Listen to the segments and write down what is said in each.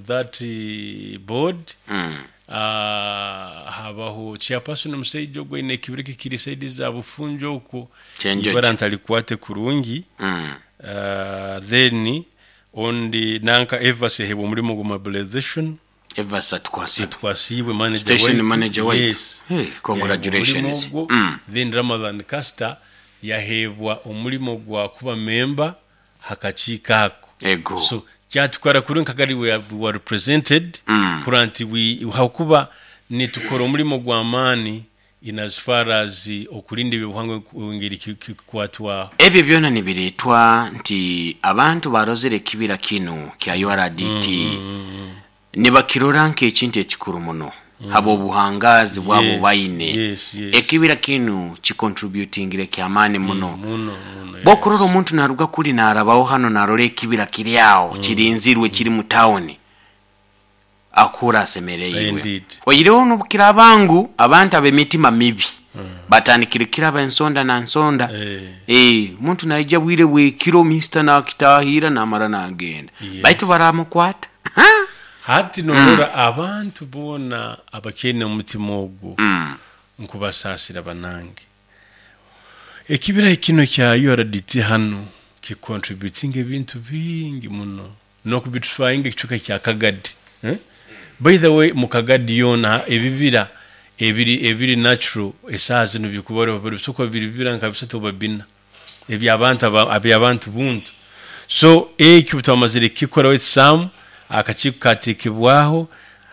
that board habaho chairperson omusaija ogwo aine ekibira ekiri side za Bufunjo okwo Kyenjoki. ibara ntarikwate kurungi then ondi nanka Evas yaheebwa omurimo gwa mobilization. Evas Atukwasiibwe. Atukwasiibwe manager Station waitu. manager waitu. Yes. Hey, Yaheebwa congratulations. omurimo ogwo. Then Ramadhan Caster yaheebwa omurimo gwa kuba member ha kakiiko ako. Ego. So kyatukora kuri nka gari we were represented kurora nti we ahakuba nitukora omurimo gw'amaani in as far as okurinda eby'obuhangwa engeri kikukwatwaho. Ebyo byona nibireetwa nti abantu barozire ekibira kinu kya URDT nibakirora nk'ekintu ekikuru muno habw'obuhangaazi bwabo Yes, baine. yes, yes. Ekibira kinu kikontributingire ky'amaani muno. Muno, muno, Bw'okurora yes. omuntu naruga kuri narabaho hanu narora ekibira kiri aho kirinzirwe kiri mu tawuni akuhurra asemereirwe. Indeed. Oihireho n'obukiraaba ngu abantu ab'emitima mibi batandikire kiraba ensonda na nsonda. Eh. Eh, omuntu naija bwire bw'ekiro mister nakitahirra namara nagenda. Yeah. Baitu baramukwata. Hati norora abantu boona abakyaine omutima ogwo nkubasaasira banange. Ekibira kinu kya URDT hanu ki contributinga ebintu bingi muno n'okubitifyinga ekicweka kya Kagadi. Eh? By the way, mu Kagadi yoona ebibira ebiri ebiri natural esaaha zinu bikubarwa bisobora kuba biri bibira nka bisatu oba bina eby'abantu eby'abantu buntu. So ekyo obutwamazire kukikora waitu Sam, akakiiko kateekebwaho,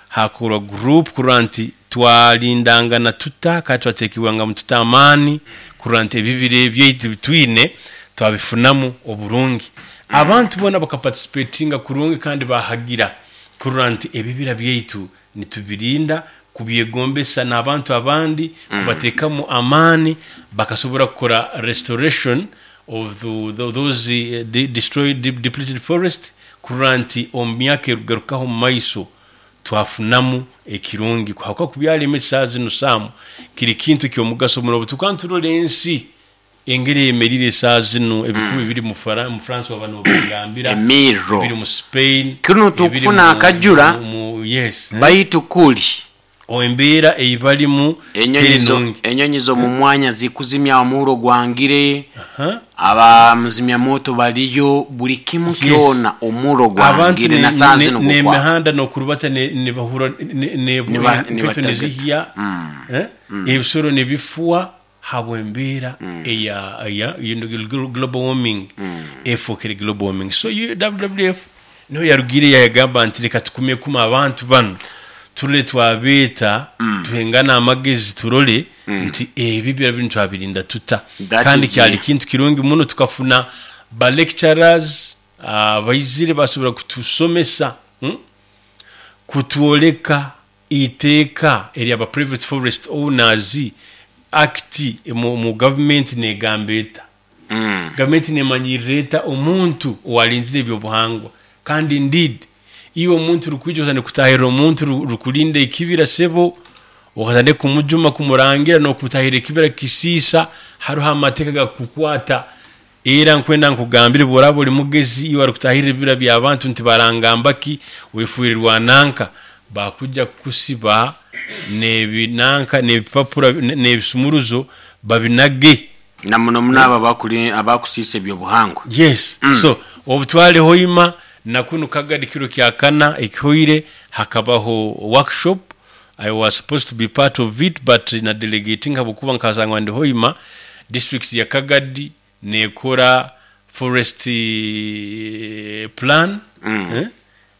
haakorwa group kurora nti twarindangana tuta kandi twateekebwangamu tuta amaani kurora nti ebibira ebyaitu ebi twine twabifunamu oburungi. Abantu boona bakaparticipatinga kurungi kandi baahagira kurora nti ebibira byaitu nitubirinda, kubyegombesa n'abantu abandi, kubateekamu amaani bakasobora kukora restoration of those destroyed, depleted forest kurora nti omu myaka erikugarukaho omu maiso twafunamu ekirungi ahabw'okuba kubyara emiti saaha zinu Sam kiri kintu ky'omugaso muno. Obutukuba niturora ensi engeri eyemereire esaaha zinu, ebikuba ebiri mu France waaba nobingambira, Emirro. ebiri mu Spain, Kinu ebiri tukufuna mu, akajura mu, yes, eh? baitu kuli. Embeera ei barimu Enyonyi teri zo, nungi. enyonyi z'omu mwanya zikuzimya omurro gwangire, Aha. abamuzimya-moto bariyo, buri kimu Yes. kyona omurro Abantu gwangire na saaha zinu gukwaka. n'emihanda n'okurubata nibahurra Niba- enketo nibatagata. nizihya, eh? Ebisoro nibifwa habw'embeera eya eya you know, global warming efookere global warming. So WWF niho yarugiire yagamba nti reka tukumekume abantu banu turole twabeeta tuhengane amagezi turole nti ebibira binu twabirinda tuta. That Kandi is kyali the- kintu kirungi muno tukafuna ba lecturers abaizire basobora kutusomesa Kutworeka eiteeka erya ba Private Forest Owners Act omu gavumenti negamba eta? Gavumenti nemanyirira eta omuntu owarinzire ebyobuhangwa? Kandi indeed iwe omuntu orikwija otandike kutahirira omuntu orikurinda ekibira sebo okatandika kumujuma kumurangira nokumutahirira ekibira kukisiisa haruho amateeka agakukukwata Era nkwenda nkugambire obu oraaba ori mugezi, iwe arikutahirira ebibira by'abantu nti barangamba ki, wefuire rwananka, bakwija kukusiba n'ebi nanka n'ebipapura n'ebisumuruzo babinage. Na muno muno abo abakuri abakusiisa eby'obuhangwa. Yes. So obu twari Hoima na kunu Kagadi kiro kya kana ekihoire hakabaho workshop, I was supposed to be part of it but na delegatinga ahabw'okuba nkasangwa ndi Hoima, district ya Kagadi nekora forest plan eh,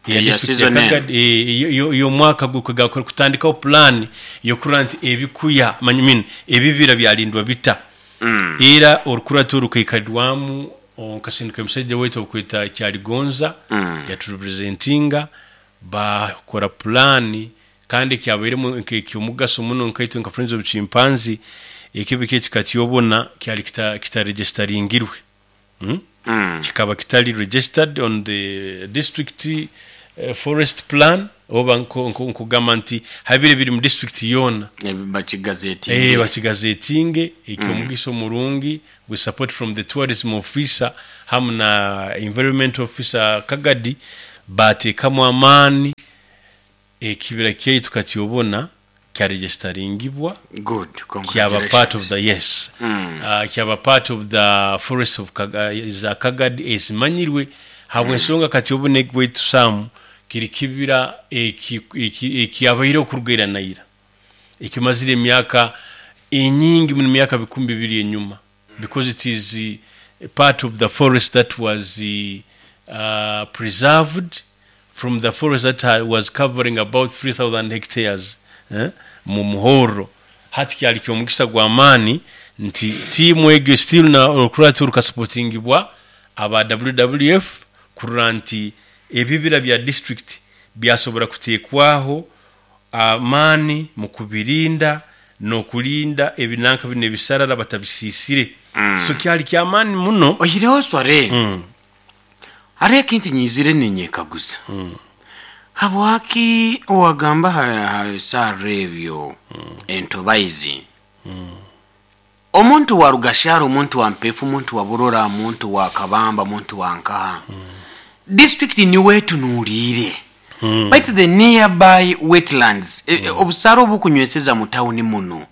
eya Eya district ya season enu. Kagadi eh, ey'omwaka gurikugaruka kutandikaho plan y'okurora nti ebikuya I mean ebibira byarindwa bita. Era orukurato rukaikarirwamu nkasinduka omusaija waitu orikweta Kyaligonza yaturepresentinga baakora pulaani Kandi ekyabairemu nk'eky'omugaso muno nkaitwe nka Friends of Chimpanzee, ekebe kyaitu kikakyobona kyali kitaregisitaringirwe. Kikaba kitali registered on the district forest plan oba nkugamba nti habire biri mu district yoona. Bakigazetinge. Bakigazetinge. Eky'omugisa omurungi with support from the tourism officer hamu na environment officer Kagadi, Baateekamu amaani, ekibira kyaitu katyobona kyaregisitaringibwa Good, kyaba part of congratulations. the yes kyaba part of the forest of za Kagadi ezimanyirwe habw'ensonga katyobona egwaitu Sam kiri kibira ekyabaireho kuruga ira na ira ekimazire emyaka enyingi muno emyaka 2000 enyuma because it is part of the forest that was preserved from the forest that was covering about 3000 hectares mu Muhorro. Hati kyali ky'omugisa gw'amaani nti tiimu egyo still na orukuratu rukasupotingibwa aba WWF kurora nti ebibira bya district byasobora kuteekwaho amaani mu kubirinda n'okurinda ebinanka binu ebisarara batabisiisire. So kyali ky'amaani muno. Oihireho Swaleh, hariho ekintu nyizire ninyekaguza. Habwaki owagamba aha bisarara ebyo entobaizi? Omuntu wa Rugashara, omuntu wa Mpefu, omuntu wa Burora, omuntu wa Kabamba, omuntu wa Nkaha, district niwe etunuuriire. Baitu the nearby wetlands, obusara obukunyweseza mu tawuni muno,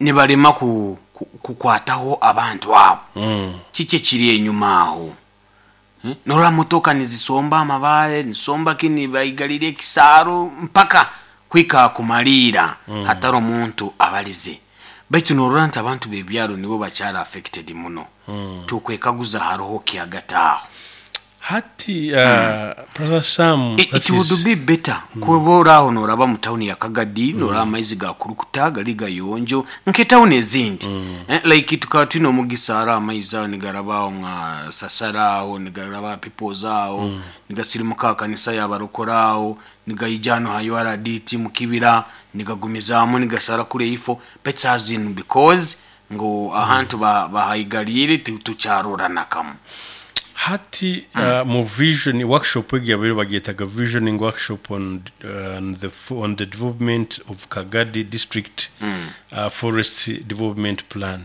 nibarema kukwataho abantu abo. Kiki ekiri enyuma aho? Norora motoka nizisomba amabaare, nizisomba ki, nibaigarira ekisaaro mpaka kuhika aha kumariira hatari omuntu abarize. Baitu norora nti abantu b'ebyaro nibo bakyari affected muno. Tukwekaguza hariho ki hagati aho? Hati Brother Sam, It that would is be better kuba ori aho noraba mu tawuni ya Kagadi, noraba amaizi gakurukuta gari gayonjo nk'etawuni ezindi. Like tukaba twine omugisa hariho amaizi aho nigaraba aho nka Sasara aho, nigaraba aha Peoples aho, nigasirimuka aha kanisa y'abarokore aho, nigaija hanu aha URDT mu kibira, nigagumizamu nigasara kuri eifo, but saaha zinu because ngu ahantu bahaigariire titukyarora na kamwe. Hati mu vision workshop egi yabaire bagyetaga visioning workshop on, on, the, on the development of Kagadi district forest development plan.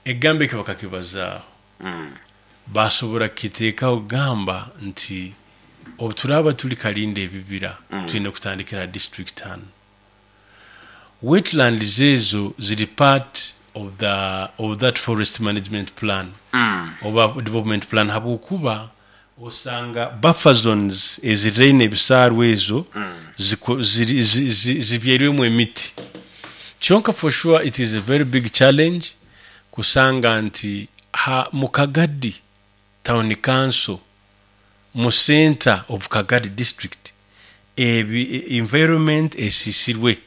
Ekigambo eki bakakibazaaho. Basobora kukiteekaho kugamba nti obu turaaba turi karinda ebibira twine kutandikira ha district hanu. Wetlands ezo ziri part of the of that forest management plan oba development plan habwokuba osanga buffer zones eziriraine ebisaaru ezo ziko ziri zi zi zibyairwemu emiti. Kyonka for sure it is a very big challenge kusanga nti ha mu Kagadi town council mu centre of Kagadi district ebi environment esisirwe.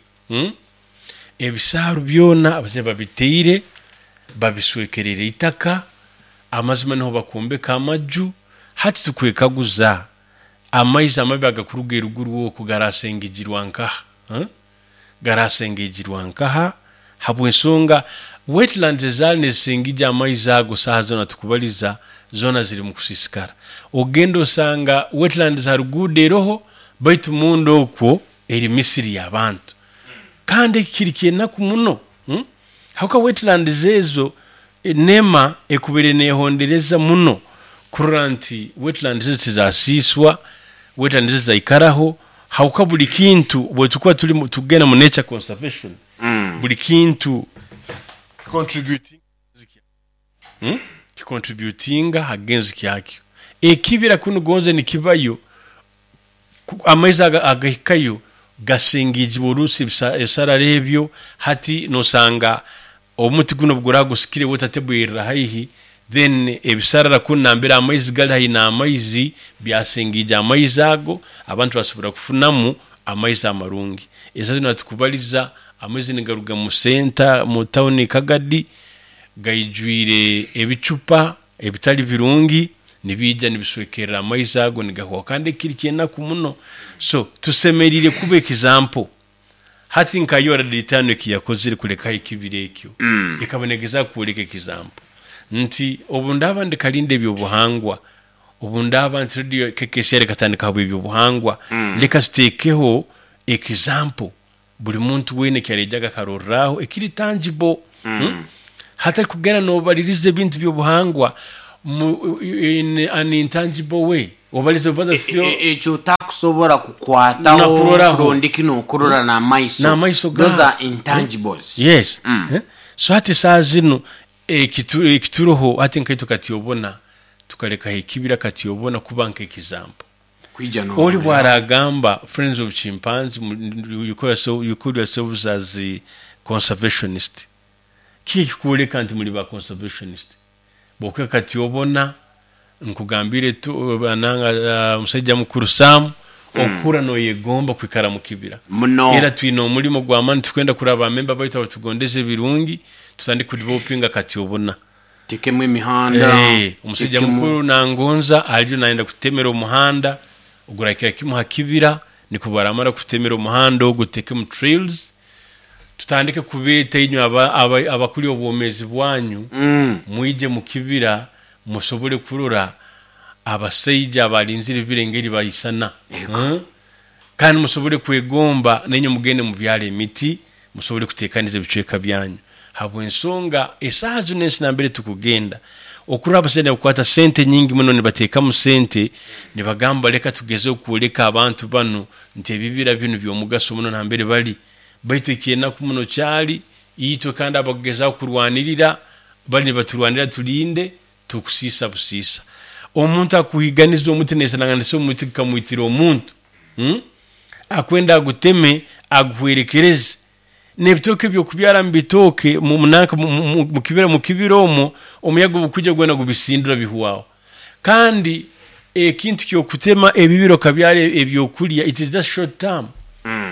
Ebisaaru byona abazaire babiteire, babiswekereire eitaka, amazima niho bakwombeka amaju. Hati tukwekaguza amaizi amabi agakuruga eruguru oku garasengejirwa nkaha? Garasengejirwa nkaha? Habw'ensonga wetlands ezaali nizisengija amaizi ago saaha zoona tukubaliza zoona ziri mu kusiisikara. Ogenda osanga wetlands ha ruguudo eroho baitu munda okwo eri misiri y'abantu. Kandi eki kiri ky'enaku muno habwokuba wetlands ezo NEMA ekubaire nehondereza muno kurora nti wetlands ezo tizasiiswa, wetlands ezo zaikaraho habwokuba buri kintu bwetukuba turi tugenda mu nature conservation buri kintu kicontributinga ha genzi kyakyo. Ekibira kunu gonze nikibayo, amaizi agahikayo gasingijibwa orusi ebisarara ebyo. Hati nosanga omuti guno obuguraba gusikire water table erira haihi, then ebisarara kunu nambere amaizi gali haihi n'amaizi byasingija amaizi ago, abantu basobora kufunamu amaizi amarungi. Esaha zinu hatukubaliza amaizi nigaruga mu senta mu tawuni Kagadi gaijwire ebicupa ebitali birungi nibiija nibiswekerera amaizi ago nigahwaho kandi eki kiri ky'enaku muno. So tusemeriire kuba example. Hati nka URD etaano eki yakozire kulekaho ekibira ekyo, ekaba negezaho kwoleka example nti obu ndaaba ndikarinda eby'obuhangwa, obu ndaaba nti radio KKCR ekatandika habw'eby'obuhangwa, leka tuteekeho example buri muntu weena eki areijaga akarorraho ekiri tangible. Hatari kugenda noobaririza ebintu by'obuhangwa. Mu, in an intangible way obalize obaza sio Ekyo otakusobora kukwataho Nakuroraho. rondiki nokurora n'amaiso. N'amaiso Those gawe. are intangibles. Yes. Eh? So hati saa zinu ekituroho hati nkaitwe kati obona tukalekaho ekibira kati obona kuba nk'ekizampo. Kwija Oli n'ohurira. bwaragamba Friends of Chimpanzee, you call yourselves as a conservationist. Kiki kikuoleka nti muri ba conservationist? Bwokuka kati obona nkugambire tu bananga omusajja mukuru Sam okura noyegomba kwikara mu kibira. Muno. Era twine omulimo gw'amaani tukwenda kuraba amemba baitu abatugondeze ebirungi tutandike kudevelopinga kati obona. Tekemu emihanda. Omusajja tekemu- mukuru nangonza aliyo nayenda kutemera omuhanda ogurakira kimu ha kibira, niko baramara kutemera omuhanda ogu tekemu trails tutandike kubeeta inywe abakuli obwomezi bwanyu. Mwije mu kibira musobole kurora abasaija abalinzire ebibira engeri bayisana. Ego. Kandi musobole kwegomba nenye mugende mubyala emiti musobole kutekaniza ebicweka byanyu habwensonga esaaha zino ensi nambere tukugenda okurora abasaija bakukwata sente nyingi muno nibateekamu sente nibagamba leka tugeze okwoleka abantu banu nti ebibira binu by'omugaso muno nambere bali, baitu ekyenaku muno kyali itwe kandi abakugezaho kurwanirira bali nibaturwanira tulinde tukusiisa busiisa. Omuntu akuhiganiza omuti nesananganisa omuti gukamwitira omuntu. Akwenda aguteme aguhwerekereze n'ebitooke byokubyara mu bitooke mu munanka mu kibira, mu kibira omwo omuyaga obukujja gwena gubisindura bihwaho. Kandi ekintu kyokutema ebibira okabyara ebyokulya, it is just short term.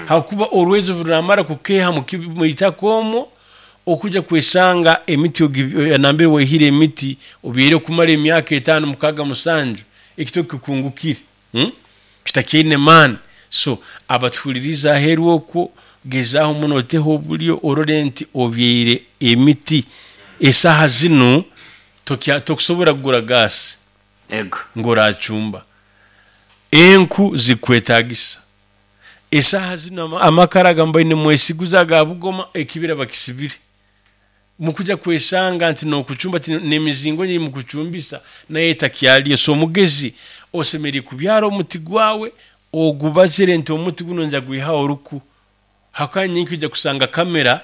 Hakuba orwezo ruramara kukeha mu itaka omwo okuja kwesanga emiti nambere waihire emiti obyere okumara emyaka 5, 6, 7, ekitoke kikungukire. Kitakiine maani. So abatuhuririza aheeru okwo, gezaho muno oteho obulyo orore nti obyaire emiti. Esaaha zinu tokusobora kugura gaasi Ego. ng'oracumba, enku zikwetagisa. Esaaha zinu amakara agambaine nimwesiguza aga bugoma, ekibira bakisibire. Mukuja kwesanga nti nokucumba n'emizingo nyi mukucumbisa naye etakyaliyo. So omugezi osemeriire kubyara omuti gwawe ogubazire nti omuti guno nja gwihaho oruku. Hakanya nyingi ojja kusanga kamera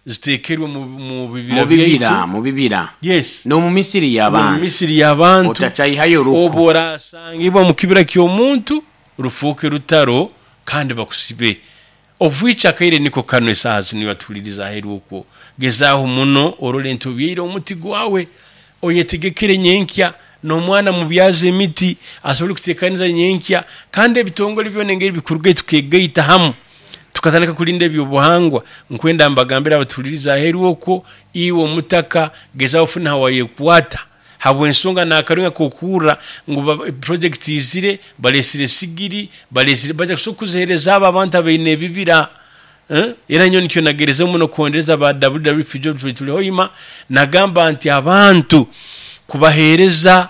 zitekerwe mu bibira Mu bibira, byaitu. mu bibira. Yes. N'omu misiri Mu y'abantu. misiri y'abantu. Otachayihayo oruku. Obu orasangibwa mu kibira ky'omuntu rufuuke rutaro kandi bakusibe. Obwica akaire niko kano esaaha zinu batuhuririza aheeru okwo. Gezaaho muno orore nti obyaire omuti gwawe, oyetegekere nyenkya n'omwana mubyaze emiti asobole kutekaniza nyenkya. Kandi ebitongole byona engeri bikuruga tukegaita hamu tukatandika kulinda ebyobuhangwa. Nkwenda mbagambire abatuhuririza aheeru okwo, iwe omutaka gezaho ofune hawayekwata habwensonga nakarunga kokurra ngu project izire balesire sigiri balesire baja kusobola kuzihereza abo abantu abaine ebibira. Era nyowe nikyo nagereze muno kuhondereza ba WWF Geoffrey Tulihoima, nagamba nti abantu kubahereza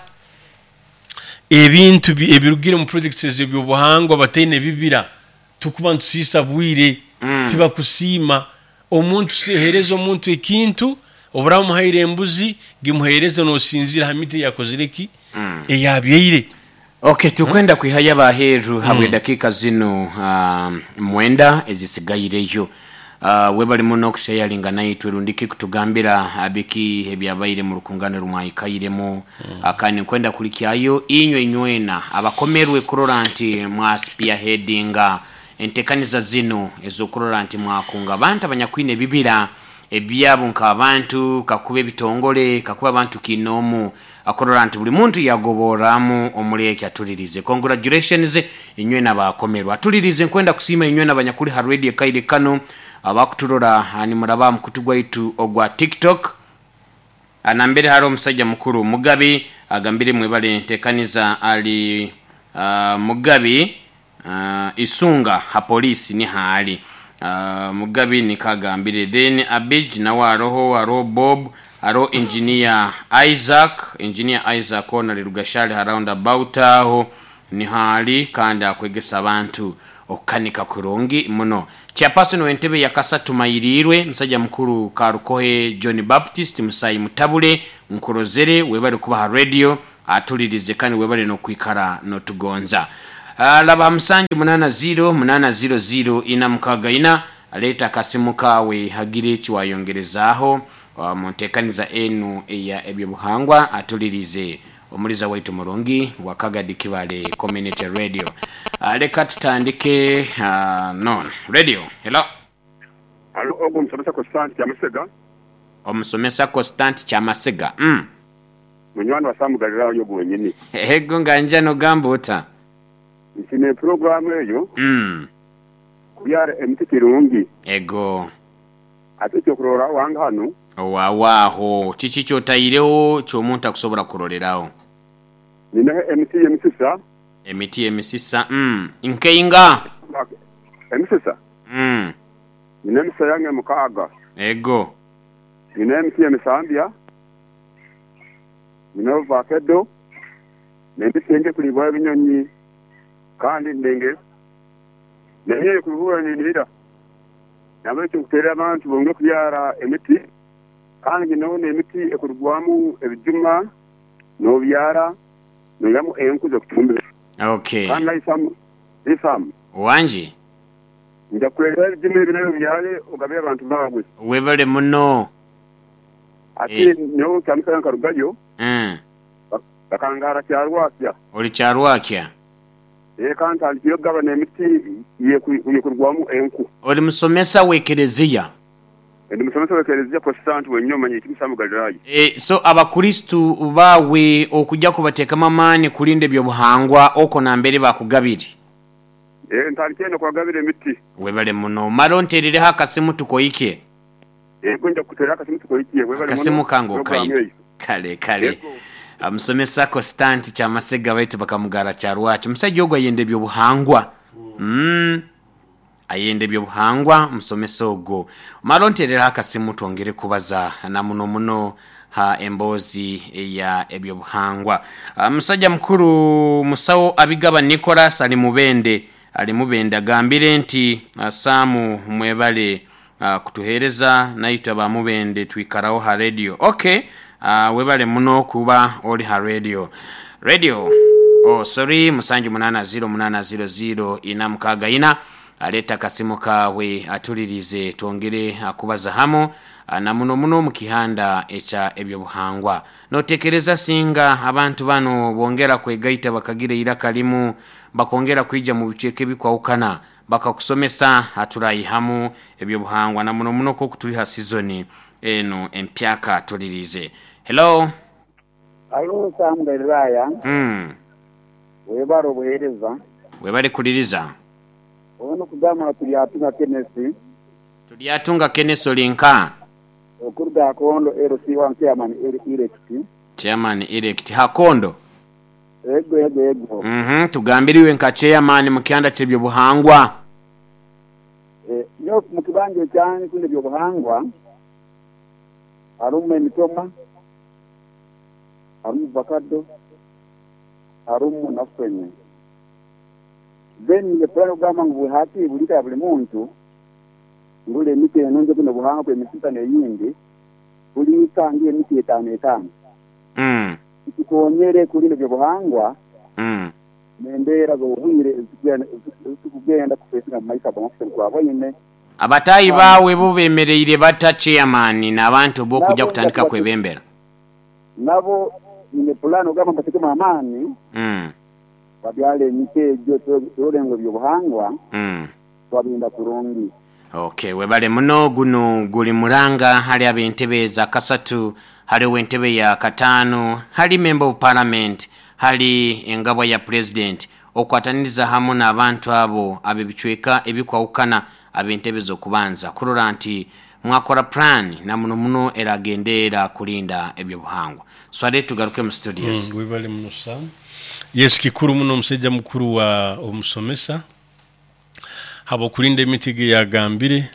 ebintu ebirugire mu projects ez'ebyobuhangwa bataine ebibira tukuba nitusiisa bwire. Tibakusiima. Omuntu hereza omuntu ekintu oburamuhaire embuzi gimuhereze nosinzira ha miti yakozire ki eyabyaire. Okay, tukwenda kwihayo abaheeru habwe dakika zino 9 ezisigaireyo. Webali muno okushayaringa naitwe rundiki kutugambira biki ebyabaire mu rukungano rumwahikairemu. Kandi nkwenda kulikyayo inywe inywena abakomerwe kurora nti mwaspearheadinga entekaniza zino ezokurora nti mwakunga abantu abanyakwine ebibira ebyabo nk'abantu kakuba ebitongole kakuba abantu kinomu akorora nti buli muntu yagoboramu omuri eki atulirize. Congratulations inywe n'abakomerwa atulirize. Nkwenda kusiima inywe n'abanyakuli ha radio kaire kano abakuturora nimuraba mukutu gwaitu ogwa TikTok. Nambere hari omusajja mukuru Mugabi agambire mwebale ntekaniza ali Mugabi isunga ha polisi ni haali. Mugabi nikagambire. Then Abij nawe aroho, aroho Bob, aroho Engineer Isaac, Engineer Isaac ona ali Rugashali ha roundabout aho. Niho ali kandi akwegesa abantu okukanika kurungi muno. Chairperson w'entebe ya kasatu Mayirirwe, musajja mukuru Karukohe John Baptist Musayi Mutabule, nkurozere webale kuba ha radio atulirize kandi webale n'okwikara n'otugonza. Laba ha musanju munana ziro munana ziro ziro ina mukaga ina leeta akasimu kaawe hagire ekiwayongerezaaho mu ntekaniza enu eya ebyobuhangwa atulirize. Omuliza waitu murungi wa Kagadi Kibale Community Radio. Leka tutandike no radio. Hello. Halo, ogwo omusomesa Kositanti Kyamasega. Omusomesa Kositanti Kyamasega. Mm. Munywani wa Sam Galilaayo ogwo wenyini. Ego nga nja nogamba ota? Nsiima epuroguramu eyo. Mm. Kubyara emiti kirungi. Ego. Ate ekyokurorraho wange hanu. Owaawe aho, kiki ky'otaireho ky'omuntu akusobora kuroreraho? Nyineho emiti y'emisisa. Emiti y'emisisa, mm, nkeinga? Emisisa? Mm. Nyine emisisa yange mukaaga. Ego. Nyineho emiti y'emisambya, nyineho vakedo, n'emiti engi ekuribwaho ebinyonyi, kandi ndenge n'enyoyo ekuruhuura ninihira. Nahabwekyo nkuteerera abantu bongere kubyara emiti kandi nyineho n'emiti ekurugwamu ebijuma n'obyara noihamu enku z'okucumbisa. Okay. Kandi nawe Sam, Sam. Wangi. Nja kukureetera ebijuma ebi nawe obyare ogabire abantu baawe. Webale muno. Ati Eh. nyowe kyamusana nkarugayo bakangaara Kyarwakya. Ori Kyarwakya? Eka ntandikire kugabana emiti y'ekurugwamu enku. Ori musomesa w'ekereziya? Ndi musomesa w'ekereziya Protestant wenyini omanyiire kimwe Sam Galilaya. So Abakristo baawe okugya kubateekamu amaani kurinda eby'obuhangwa okwo nambere baakugabire? Ntandikire n'okubagabira emiti. Webale muno. Mara onteerereho akasimu tukoike. Yego nja kukuteerera akasimu tukoike. Webale muno Akasimu kange puroguramu okaine. eyo. Kale kale. Yego. Musomesa Kositanti Kyamasega baitu bakamugara Kyarwaki. Omusaija ogu ayenda eby'obuhangwa. Mm. Ayenda eby'obuhangwa omusomesa ogwo. Mara onteerereho akasimu twongere kubaza na muno muno ha emboozi eya eby'obuhangwa. Musaija mukuru Musawo Abigaba Nicholas ali Mubende ali Mubende agambire nti Sam mwebale Kutuhereza naitwe aba Mubende twikaraho ha radio. Ok webale muno kuba oli ha radio. Radio oh sorry musanju munana ziro munana ziro ziro ina mukaga ina aleta akasimu kawe atulirize twongere kubaza hamu na muno muno mu kihanda ekya ebyobuhangwa. Notekereza singa abantu bano bongera kwegaita bakagira eiraka limu bakongera kwija mu bicweka ebikwahukana Bakakusomesa haturaihamu ebyobuhangwa na muno muno nk'oku turi ha sizoni enu empyaka tuliriize. Hello. Halo Sam Galilaya, Mm. webale obuhereza. Webale kuliriza. Ono kugamba nga Turyatunga Kenneth. Turyatunga Kenneth oli nka? Okuruga Hakondo LC1 Chairman Elect. Chairman Elect Hakondo. Ego, ego, ego. Mhm, tugambire iwe nka chairman mu kyanda ky'ebyobuhangwa. Eh, nyowe mu kibanja ekyange kunu ebyobuhangwa harumu emitoma, harumu vakado, harumu na fene. Then nge pulani okugamba ngu buli hati buli ka ya buli muntu ngule emiti enungi kunu obuhangwa kw'emisisa n'eyindi buli ka ngihe emiti etaano etaano. Mm. Kitukonyere kurinda eby'obuhangwa Mm. n'embeera z'obwire ezitukugenda kufesinga mu maiso ag'omafisa nitwaboine. Abataahi baawe bo bemereire bata chairman n'abantu bo okuja Nabo kutandika nja kwebembera? Nabo nyine pulani ogamba mbatekemu amaani Mm. babyale emiti egyo turole ngu eby'obuhangwa Mm. twabirinda kurungi. Ok webale muno guno guli mulanga hali ab'entebe za kasatu, hali ow'entebe ya kataano, hali member of parliament, hali engabwa ya president okwataniriza hamu n'abantu abo ab'ebicweka ebikwahukana ab'entebe z'okubanza kurora nti mwakora plan na muno muno eragendeera kurinda eby'obuhangwa. Swaleh tugaruke mu studios. Webale muno Sam. Yes kikuru muno omusaija mukuru wa omusomesa. Habw'okurinda emiti egi ei agambire,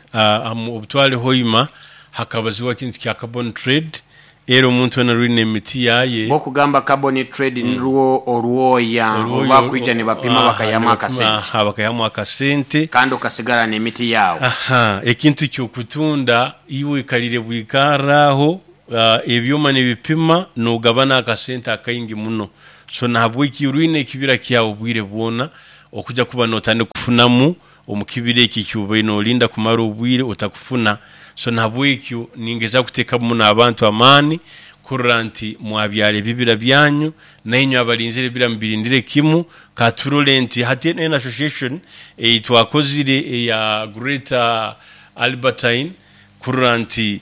obu twali Hoima hakabazibwa ekintu kya carbon trade. Era omuntu wena rwine emiti yaye. Bwokugamba carbon trade nirwo orwoya orubakwija nibapima bakayihamu akasente. Aha, bakayihamu akasente. Kandi okasigara n'emiti yaawe. Aha, ekintu ky'okutunda iwe oikarire bwikarre aho, ebyoma nibipima nogabana akasente akaingi muno. So nahabweki rwine ekibira kyawe obwire bwona okuja kuba notandika kufunamu omu kibira ekyo eki obaire norinda kumara obwire otakufuna. So nahabwekyo ningezaho kutekamu muno abantu amaani kurora nti mwabyara ebibira byanyu, nainywe abarinzire ebibira mubirindire kimu. Katurore nti hati enu association eyi twakozire eya Greater Albertine kurora nti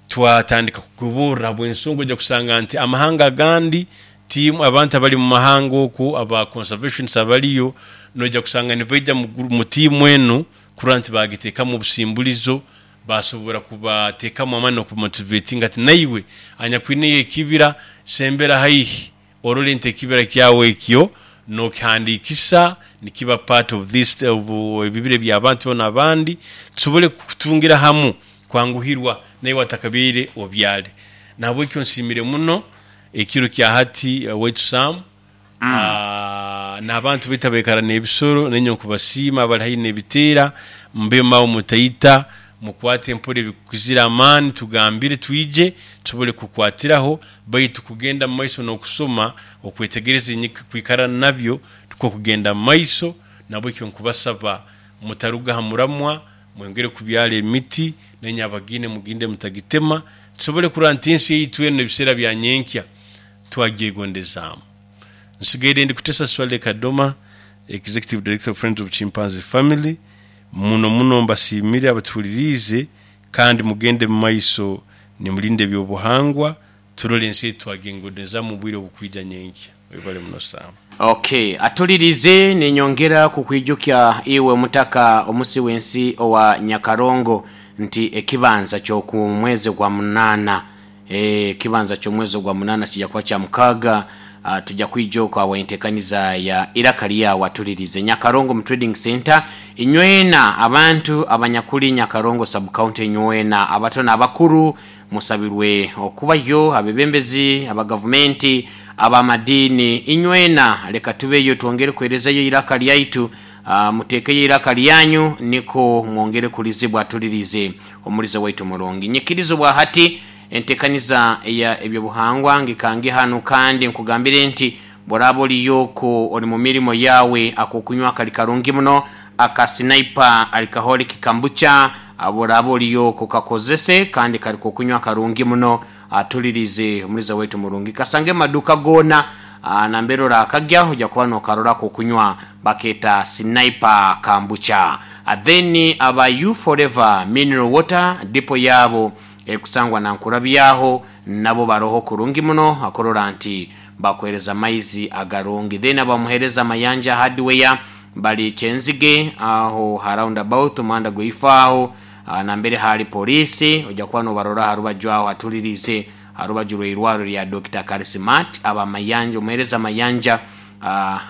twatandika kugoborora habw'ensonga oija kusanga nti amahanga agandi tiimu abantu abari mu mahanga okwo aba conservationists abariyo noija kusanga nibaija mu tiimu enu kurora nti bagiteekamu obusimburizo basobora kubateekamu amaani n'okubamotivatinga ati naiwe anyakwineyo ekibira sembera haihi orore nti ekibira kyawe ekyo nokihandikisa nikiba part of this of ebibira eby'abantu boona abandi tusobole kutungira hamu kwanguhirwa naiwe atakabaire obyare. Nahabwekyo nsiimire muno ekiro kya hati waitu Sam n'abantu baitu abaikara n'ebisoro nainye nkubasiima abali haihi n'ebiteera mube mawe mutaita mukwate mpora ebikukizire amaani tugambire twije tusobole kukwatiraho baitu kugenda mu maiso n'okusoma okwetegereza enyika kwikara nabyo tukwo kugenda mu maiso nabwekyo nkubasaba mutaruga ha muramwa mwongere kubyara emiti nainye abagiine muginde mutagitema tusobole kurora nti ensi yaitu enu ebiseera bya nyenkya twagyegondezaamu. Nsigaire ndi Kutesa Swaleh Kadoma, Executive Director of Friends of Chimpanzee Family. Muno muno mbasiimire abatuhuliriize kandi mugende mu maiso nimulinda eby'obuhangwa turole ensi yaitu twagyegondezaamu omu bwire obukwija nyenkya. Webale muno Sam. Ok, atulirize ninyongera kukwijukya iwe omutaka omusi w'ensi owa Nyakarongo nti ekibanza ky'oku mwezi gwa munaana Ekibanza ky'omwezi ogwa munaana kija kuba kya mukaaga. Tuja kwija okwo awo entekaniza ya Iraka Lyawe atulirize. Nyakarongo mu Trading Centre. Inywena abantu abanyakuli Nyakarongo Sub-County inywena abato n'abakuru musabirwe okubayo, abebembezi aba gavumenti, ab'amadiini, inywena leka tubeyo twongere kuherezayo eiraka lyaitu. Muteekeyo eiraka lyanyu niko mwongere kulizibwa tulirize Omuliza waitu omurungi. Nyikiriza obwahati entekaniza eya ebyobuhangwa ngikange hanu kandi nkugambire nti bworaba oriyo okwo ori mumirimo yawe akokunywa kari karungi muno aka Sniper Alcoholic Kambucha bworaba oriyo okwo kakozese kandi kari kokunywa karungi muno Atulirize omuliza waitu omurungi. Kasange mumaduuka goona nambere orakagya oja kuba nokarora akokunywa baketa Sniper Kambucha. Then aba You Forever Mineral Water dipo yaabo erikusangwa Nankurabyaho nabo baroho kurungi muno akurora nti bakuhereza amaizi agarungi. Then aba Muhereza Mayanja Hardware bari Kyenzige aho ha round about omuhanda gweifa aho. Nambere haali poliisi, oja kuba nobarora ha rubaju aho hatuliriize ha rubaju rw'eirwarro lya Dokita Karisimat aba Mayanja, omuheereza Mayanja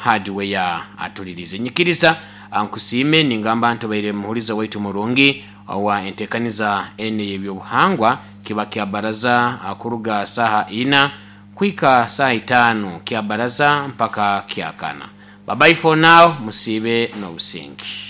Hardware atuliriize. Nyikiriza nkusiime ningamba nti obaire muhuliza waitu murungi owa enteekaniza enu ey'ebyobuhangwa. Kiba kya baraza kuruga saaha ina kuhika saaha itaanu, kya baraza mpaka kyakana. Bye bye for now, musiibe n'obusinge.